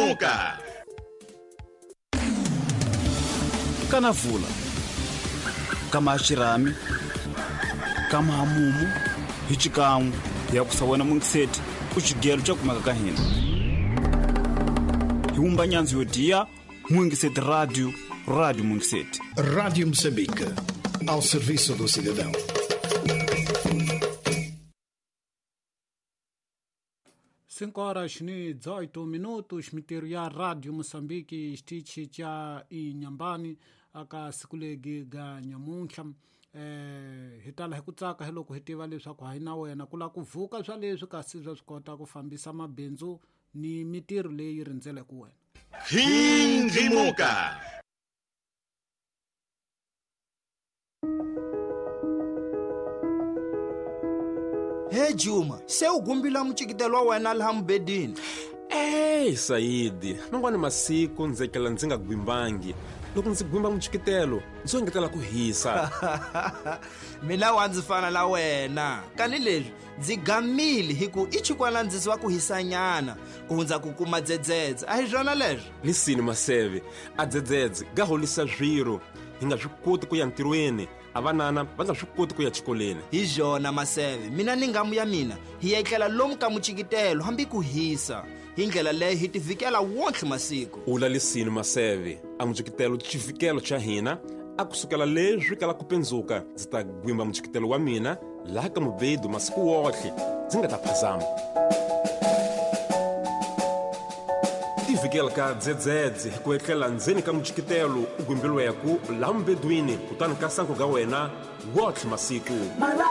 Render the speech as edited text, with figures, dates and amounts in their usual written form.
Hindzimuka. Kana vula kama xirhami kama hamumu hi xikan'we hi ya kusa wena mungiseti ku xigelo xa kumeka ka hina hi wumba nyandzu yo diya Mungiseti Radio, Rádio Mungiseti. Rádio Moçambique, ao serviço do cidadão. 5 horas ni 18 minutos mitirho ya Radio Moçambique xitichi xa Inhambane aka siku legi ga nyamuntlha hi tala hi ku tsaka hi loko hi tiva leswaku hayi na wena ku lava ku vuka swa leswi kasi swa swi kota ku fambisa mabindzu ni mitirho leyi rindzeleke wena. Hindzimuka. He Juma, se u gumbila mucikitelo wa wena laha mubedini. Ey Sayidi, man'wani masiku ndzi etlela ndzi nga gwimbangi. Loko ndzi gwimba mucikitelo, ndzi engetela ku hisa. Mina wa ndzi fana na wena. Kani leswi ndzi gamile hi ku i chikwana ndziso wa ku hisanyana ku hundza ku kuma dzedzedze. A hi swona leswo? Lisini Maseve, a dzedzedze ga holisa swiro. Hi nga swi koti ku ya ntirhweni, a vanana va nga swi koti ku ya xikolweni. Hi byona Maseve, mina ni ngamu ya mina hi etlela lomu ka mucikitelo hambi ku hisa. Hi ndlela leyi hi tivikela wontlhe masiku. Ula lisini Maseve, a mucikitelo xivikelo xa hina a kusukela leswi kala ku pendzuka ndzi ta gwimba mucikitelo wa mina laha ka mubedu masiku wotlhe ndzi nga ta phazama. Tivikela ka dzedzedze hi ku etlela ndzeni ka mucikitelo u gwimbiliweku laha mubedwini kutani ka sanku ga wena wotlhe masiku.